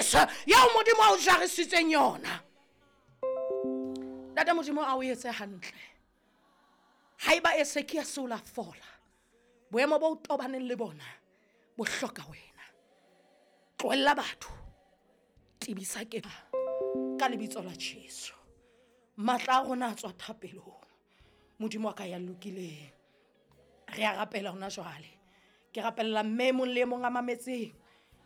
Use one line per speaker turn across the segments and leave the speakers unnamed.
Jesu eo Modimo a o jarisitseng yona. Ntate Modimo a o etse hantle. Haeba Esekiase o la fola, boemo bo o tobaneng le bona bo hloka wena. Tlohella batho, tebisa ke ka lebitso la Jesu. Matla a rona a tswa thapelong. Modimo wa ka ya lokileng. Re a rapela hona jwale. Ke rapella mme e mong le e mong a mametseng,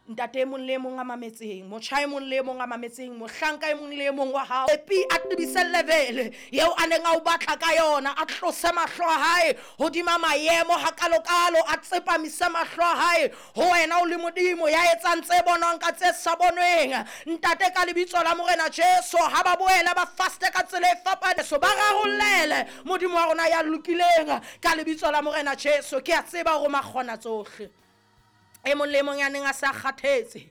ntate e mong le e mong a mametseng, motjha e mong le e mong a mametseng, mohlanka e mong le e mong wa hao. Epi a tebise level eo a neng a o batla ka yona, a tlose mahlo a hae hodima maemo hakalokalo, a tsepamise mahlo a hae ho wena o le Modimo ya etsang tse bonwang ka tse sa bonweng. Ntate, ka lebitso la Morena Jesu, ha ba boela ba faste ka tsela e fapaneng, so ba rarollele Modimo wa rona ya lokileng ka lebitso la Morena Jesu. Ke a tseba hore makgona tsohle. E mong le e mong ya neng a se a kgathetse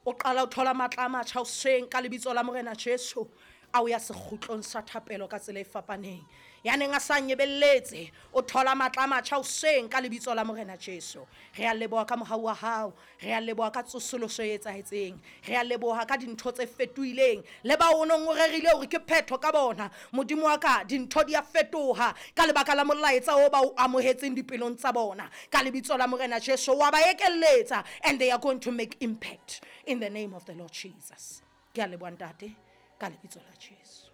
o qala ho thola matla a matjha hoseng ka lebitso la Morena Jesu, a o ya sekgutlong sa thapelo ka tsela e fapaneng. Ya neng a sa nyebelletse o thola matla a matjha hoseng ka lebitso la Morena Jesu. Re a leboha ka mohau wa hao, re a leboha ka tsosoloso e etsahetseng, re a leboha ka dintho tse fetohileng le bao o neng o rerile hore ke phetho ka bona. Modimo wa ka, dintho di a fetoha ka lebaka la molaetsa o ba o amohetseng dipelong tsa bona ka lebitso la Morena Jesu. Wa ba ekelletsa and they are going to make impact in the name of the Lord Jesus. Ke a leboha ntate ka lebitso la Jesu.